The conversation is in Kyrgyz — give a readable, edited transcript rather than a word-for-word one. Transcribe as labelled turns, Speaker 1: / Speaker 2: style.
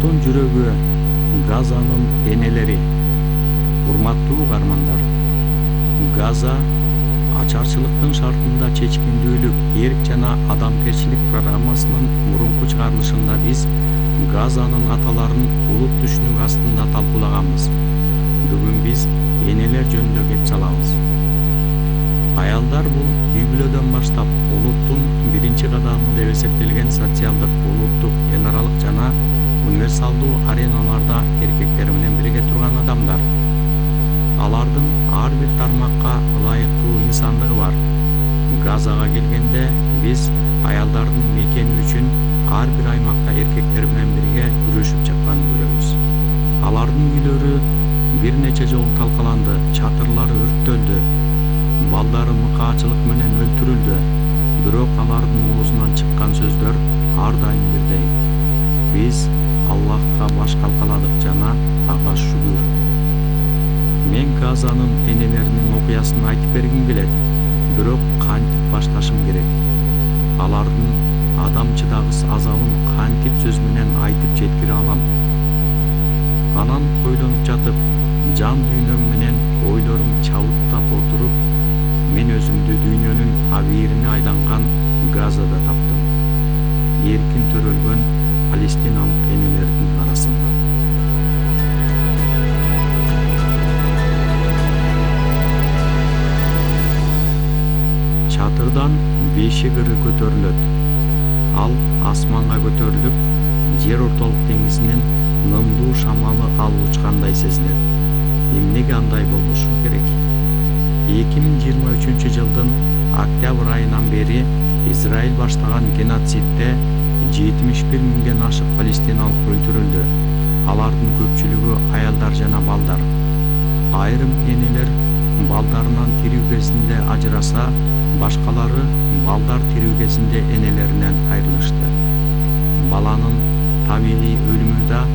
Speaker 1: улуттун жүрөгү, Газанын энелери. Урматтуу угармандар, Газа ачарчылыктын шартында чечкиндүүлүк, эрк жана адамгерчилик программасынын мурунку чыгарылышында биз Газанын аталарын улут түшүнүк астында талкуулаганбыз. Бүгүн биз энелер жөнүндө кеп салабыз. Аялдар бул үй-бүлөдөн баштап улуттун биринчи кадамы деп эсептелген социалдык, улуттук, эн аралык жана универсалдуу ареналарда эркектер менен бирге турган адамдар. Алардын ар бир тармакка ылайыктуу инсандыгы бар. Газага келгенде биз аялдардын мекени үчүн ар бир аймакта эркектер менен бирге күрөшүп жатканын көрөбүз. Алардын үйлөрү бир нече жолу талкаланды, чатырлары өрттөлдү, балдары мыкаачылык менен өлтүрүлдү. Бирок алардын оозунан чыккан сөздөр ар дайым бирдей. Биз Аллахка баш калкаладык жана ага шүгүр. Мен Газанын энелеринин окуясын айтып бергим келет, бирок кантип башташым керек? Алардын адам чыдагыс азабын кантип сөз менен айтып жеткире алам? Анан ойлонуп жатып, жан дүйнөм менен ойлорум чабыттап отуруп, мен өзүмдү дүйнөнүн абийирине айланган Газада таптым. Эркин төрөлгөн палестиналык энелердин арасында. Чатырдан бешигiri көтөрүлөт. Ал асманга көтөрүлүп, жер ортолук деңизинин нымдуу шамалы алып учкандай сезилет. Эмнеге андай болушу керек? 2023 жылдын октябрь айынан бери Израиль баштаган геноцидде 71 миңден ашык палестиналык өлтүрүлдү. Алардын көпчүлүгү аялдар жана балдар. Айрым энелер балдарынан тирүү кезинде ажыраса, башкалары балдар тирүү кезинде энелеринен айрылышты. Баланын табигый өлүмү да